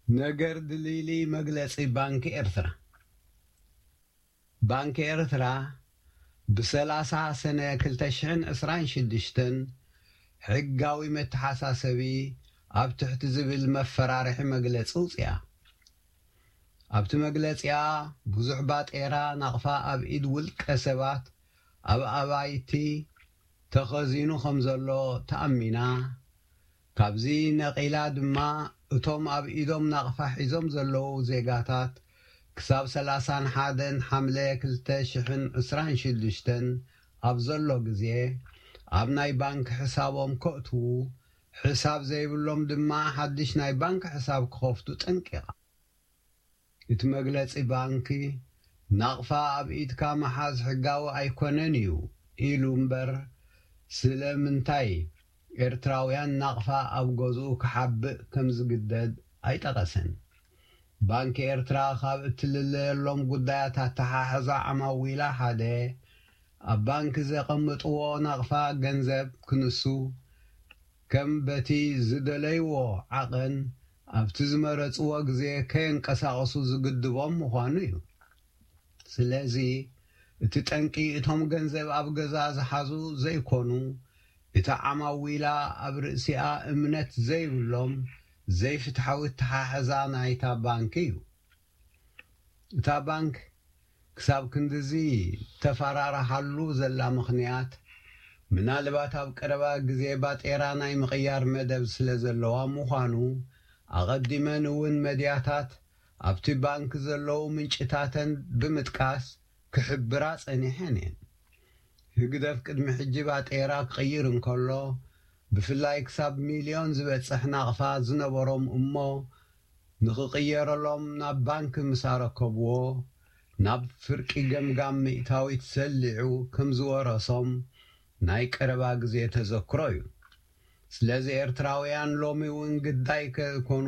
ነገር ድልይልይ መግለጺ ባንኪ ኤርትራ። ባንኪ ኤርትራ ብሰላሳ ሰነ ክልተ ሽሕን ዕስራን ሽዱሽተን ሕጋዊ መተሓሳሰቢ ኣብ ትሕቲ ዝብል መፈራርሒ መግለጺ ውጽያ። ኣብቲ መግለጺኣ፣ ብዙሕ ባጤራ ናቕፋ ኣብ ኢድ ውልቀ ሰባት፣ ኣብ ኣባይቲ ተኸዚኑ ከም ዘሎ ተኣሚና፣ ካብዚ ነቒላ ድማ፣ እቶም ኣብ ኢዶም ናቕፋ ሒዞም ዘለዉ ዜጋታት፣ ክሳብ ሰላሳን ሓደን ሓምለ ክልተ ሽሕን ዕስራን ሽዱሽተን ኣብ ዘሎ ግዜ፣ ኣብ ናይ ባንክ ሕሳቦም ከእትዉ፣ ሕሳብ ዘይብሎም ድማ ሓድሽ ናይ ባንክ ሕሳብ ክኸፍቱ ጠንቂቓ። እቲ መግለጺ ባንኪ፣ ናቕፋ ኣብ ኢድካ ምሓዝ ሕጋዊ ኣይኮነን እዩ ኢሉ እምበር፣ ስለምንታይ ኤርትራውያን ናቕፋ ኣብ ገዝኡ ክሓብእ ከም ዝግደድ ኣይጠቐሰን። ባንኪ ኤርትራ ካብ እትልለየሎም ጉዳያት ኣተሓሕዛ ዓማዊላ ሓደ፣ ኣብ ባንኪ ዘቐምጥዎ ናቕፋ ገንዘብ ክንሱ፣ ከም በቲ ዝደለይዎ ዓቐን ኣብቲ ዝመረጽዎ ግዜ ከየንቀሳቕሱ ዝግድቦም ምዃኑ እዩ። ስለዚ፣ እቲ ጠንቂ እቶም ገንዘብ ኣብ ገዛ ዝሓዙ ዘይኮኑ፣ እታ ዓማዊላ ኣብ ርእሲኣ እምነት ዘይብሎም ዘይፍትሓዊ ኣተሓሕዛ ናይታ ባንኪ እዩ። እታ ባንክ ክሳብ ክንድዚ ተፈራርሓሉ ዘላ ምኽንያት፣ ምናልባት ኣብ ቀረባ ግዜ ባጤራ ናይ ምቕያር መደብ ስለ ዘለዋ ምዃኑ፣ ኣቐዲመን እውን መድያታት ኣብቲ ባንክ ዘለዉ ምንጭታተን ብምጥቃስ ክሕብራ ጸኒሐን እየን። ህግደፍ ቅድሚ ሕጂ ባጤራ ክቕይር እንከሎ፣ ብፍላይ ክሳብ ሚልዮን ዝበጽሕ ናቕፋ ዝነበሮም እሞ ንኽቕየረሎም ናብ ባንክ ምስ ኣረከብዎ፣ ናብ ፍርቂ ገምጋም ሚእታዊት ሰሊዑ ከም ዝወረሶም ናይ ቀረባ ግዜ ተዘክሮ እዩ። ስለዚ ኤርትራውያን ሎሚ እውን ግዳይ ከይኮኑ፣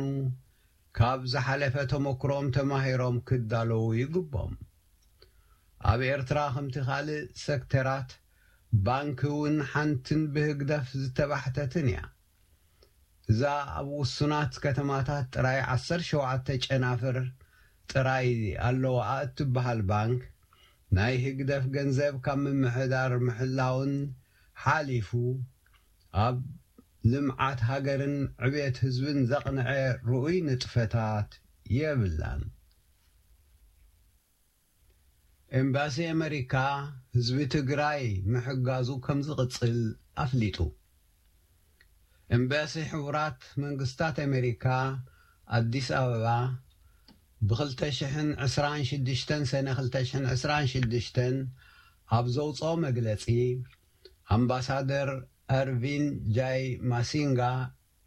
ካብ ዝሓለፈ ተመክሮም ተማሂሮም ክዳለዉ ይግቦም። ኣብ ኤርትራ ከምቲ ካልእ ሰክተራት፣ ባንኪ እውን ሓንትን ብህግደፍ ዝተባሕተትን እያ። እዛ ኣብ ውሱናት ከተማታት ጥራይ ዓሰርተ ሸውዓተ ጨናፍር ጥራይ ኣለዋ እትበሃል ባንክ፣ ናይ ህግደፍ ገንዘብ ካብ ምምሕዳር ምሕላውን ሓሊፉ፣ ኣብ ልምዓት ሃገርን ዕብየት ህዝብን ዘቕንዐ ርኡይ ንጥፈታት የብላን። ኤምባሲ ኣመሪካ ህዝቢ ትግራይ ምሕጋዙ ከም ዝቕጽል ኣፍሊጡ። ኤምባሲ ሕቡራት መንግስታት ኣመሪካ ኣዲስ ኣበባ፣ ብ ክልተ ሽሕን ዕስራን ሽዱሽተን ሰነ ክልተ ሽሕን ዕስራን ሽዱሽተን ኣብ ዘውጽኦ መግለጺ፣ ኣምባሳደር ኣርቪን ጃይ ማሲንጋ፣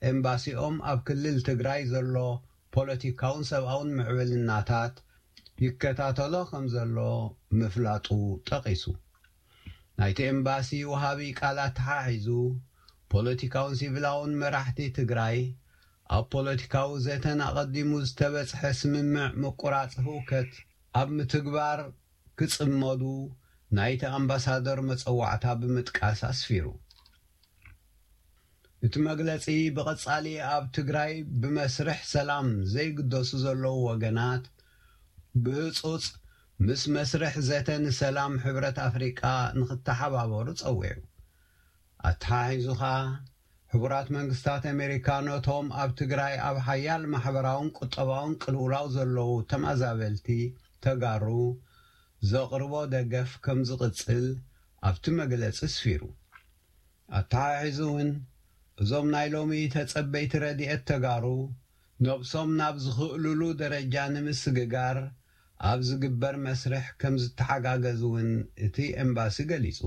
ኤምባሲኦም ኣብ ክልል ትግራይ ዘሎ ፖለቲካውን ሰብኣውን ምዕብልናታት ይከታተሎ ከም ዘሎ ምፍላጡ ጠቒሱ። ናይቲ ኤምባሲ ወሃቢ ቃል ኣተሓሒዙ፣ ፖለቲካውን ሲቪላውን መራሕቲ ትግራይ ኣብ ፖለቲካዊ ዘተን ኣቐዲሙ ዝተበጽሐ ስምምዕ ምቁራጽ ህውከት ኣብ ምትግባር ክጽመዱ ናይቲ ኣምባሳደር መጸዋዕታ ብምጥቃስ ኣስፊሩ። እቲ መግለጺ ብቐጻሊ ኣብ ትግራይ ብመስርሕ ሰላም ዘይግደሱ ዘለዉ ወገናት ብህጹጽ ምስ መስርሕ ዘተ ንሰላም ሕብረት ኣፍሪቃ ንኽተሓባበሩ ጸዊዑ። ኣተሓሒዙ ኸኣ፣ ሕቡራት መንግስታት ኣሜሪካ ነቶም ኣብ ትግራይ ኣብ ሓያል ማሕበራውን ቁጠባውን ቅልውላው ዘለዉ ተመዛበልቲ ተጋሩ ዘቕርቦ ደገፍ ከም ዝቕጽል ኣብቲ መግለጺ ኣስፊሩ። ኣተሓሒዙ እውን፣ እዞም ናይ ሎሚ ተጸበይቲ ረድኤት ተጋሩ ነብሶም ናብ ዝኽእሉሉ ደረጃ ንምስግጋር ኣብ ዝግበር መስርሕ ከም ዝተሓጋገዙ እውን እቲ ኤምባሲ ገሊጹ።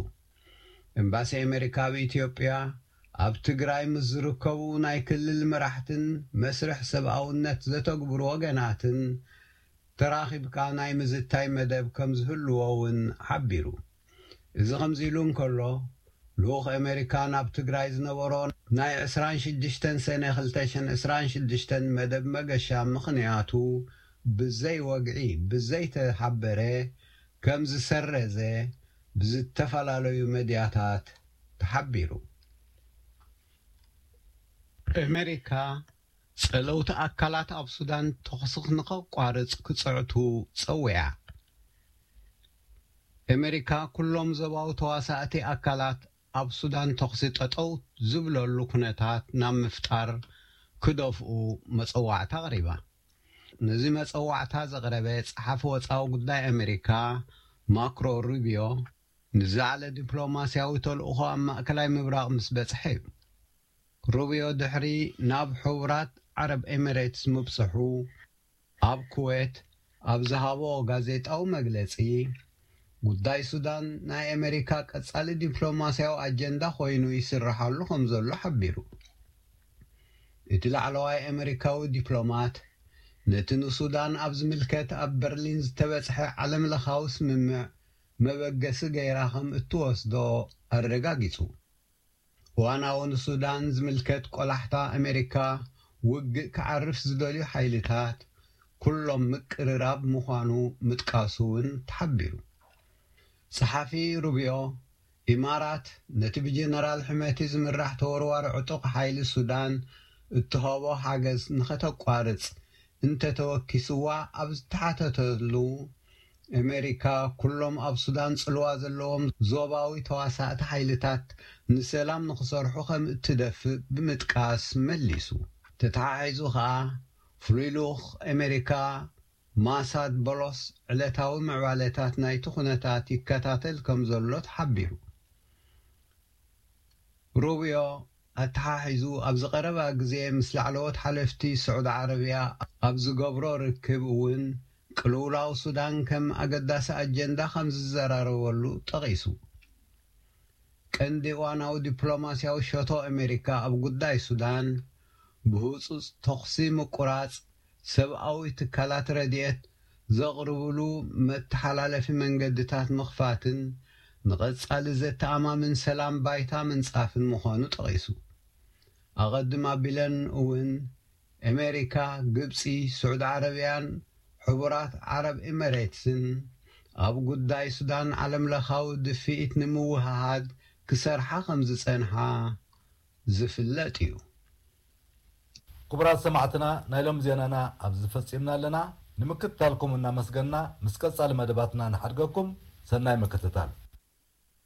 ኤምባሲ ኣሜሪካ ኣብ ኢትዮጵያ፣ ኣብ ትግራይ ምስ ዝርከቡ ናይ ክልል መራሕትን መስርሕ ሰብኣውነት ዘተግብሩ ወገናትን ተራኺብካ ናይ ምዝታይ መደብ ከም ዝህልዎ እውን ሓቢሩ። እዚ ከምዚ ኢሉ እንከሎ፣ ልኡኽ ኣሜሪካ ናብ ትግራይ ዝነበሮ ናይ ዕስራን ሽዱሽተን ሰነ ክልተ ሽሕን ዕስራን ሽዱሽተን መደብ መገሻ ምኽንያቱ ብዘይ ወግዒ፣ ብዘይተሓበረ ከም ዝሰረዘ ብዝተፈላለዩ መድያታት ተሓቢሩ። ኣሜሪካ ጸለውቲ ኣካላት ኣብ ሱዳን ተኹሲ ንኸቋርጽ ክጽዕቱ ጸዊዓ። ኣሜሪካ ኩሎም ዞባዊ ተዋሳእቲ ኣካላት ኣብ ሱዳን ተኹሲ ጠጠው ዝብለሉ ኩነታት ናብ ምፍጣር ክደፍኡ መጸዋዕታ ኣቕሪባ። ነዚ መጸዋዕታ ዘቕረበ ጸሓፊ ወጻዊ ጉዳይ ኣሜሪካ ማክሮ ሩቢዮ ንዝለዓለ ዲፕሎማስያዊ ተልእኾ ኣብ ማእከላይ ምብራቕ ምስ በጽሐ እዩ። ሩቢዮ ድሕሪ ናብ ሕቡራት ዓረብ ኤሚሬትስ ምብጽሑ ኣብ ኩዌት ኣብ ዝሃቦ ጋዜጣዊ መግለጺ፣ ጉዳይ ሱዳን ናይ ኣሜሪካ ቀጻሊ ዲፕሎማስያዊ ኣጀንዳ ኮይኑ ይስርሓሉ ከም ዘሎ ሓቢሩ። እቲ ላዕለዋይ ኣሜሪካዊ ዲፕሎማት ነቲ ንሱዳን ኣብ ዝምልከት ኣብ በርሊን ዝተበጽሐ ዓለምለኻዊ ስምምዕ መበገሲ ገይራ ከም እትወስዶ ኣረጋጊጹ። እዋናዊ ንሱዳን ዝምልከት ቆላሕታ ኣሜሪካ ውግእ ክዓርፍ ዝደልዩ ሓይልታት ኩሎም ምቅርራብ ምዃኑ ምጥቃሱ እውን ተሓቢሩ። ጸሓፊ ሩቢዮ፣ ኢማራት ነቲ ብጀነራል ሕመቲ ዝምራሕ ተወርዋሪ ዕጡቕ ሓይሊ ሱዳን እትሃቦ ሓገዝ ንኸተቋርጽ እንተተወኪስዋ ኣብ ዝተሓተተሉ፣ ኣሜሪካ ኩሎም ኣብ ሱዳን ጽልዋ ዘለዎም ዞባዊ ተዋሳእቲ ሓይልታት ንሰላም ንኽሰርሑ ከም እትደፍእ ብምጥቃስ መሊሱ። ተተሓሒዙ ከኣ ፍሉይ ልኡኽ ኣሜሪካ ማሳድ ቦሎስ ዕለታዊ ምዕባለታት ናይቲ ኩነታት ይከታተል ከም ዘሎ ተሓቢሩ። ሩቢዮ ኣተሓሒዙ ኣብ ዝቐረባ ግዜ ምስ ላዕለዎት ሓለፍቲ ስዑዲ ዓረብያ ኣብ ዝገብሮ ርክብ እውን ቅልውላው ሱዳን ከም ኣገዳሲ ኣጀንዳ ከም ዝዘራረበሉ ጠቒሱ። ቀንዲ እዋናዊ ዲፕሎማስያዊ ሸቶ ኣሜሪካ ኣብ ጉዳይ ሱዳን ብህጹጽ ተኹሲ ምቁራጽ፣ ሰብኣዊ ትካላት ረድኤት ዘቕርብሉ መተሓላለፊ መንገድታት ምኽፋትን ንቐጻሊ ዘተኣማምን ሰላም ባይታ ምንጻፍን ምዃኑ ጠቒሱ። ኣቐድም ኣቢለን እውን ኣሜሪካ፣ ግብጺ፣ ስዑዲ ዓረብያን ሕቡራት ዓረብ ኤሚሬትስን ኣብ ጉዳይ ሱዳን ዓለምለኻዊ ድፍኢት ንምውህሃድ ክሰርሓ ከም ዝጸንሓ ዝፍለጥ እዩ። ክቡራት ሰማዕትና፣ ናይ ሎም ዜናና ኣብዚ ፈጺምና ኣለና። ንምክትታልኩም እናመስገንና፣ ምስ ቀጻሊ መደባትና ንሓድገኩም። ሰናይ ምክትታል።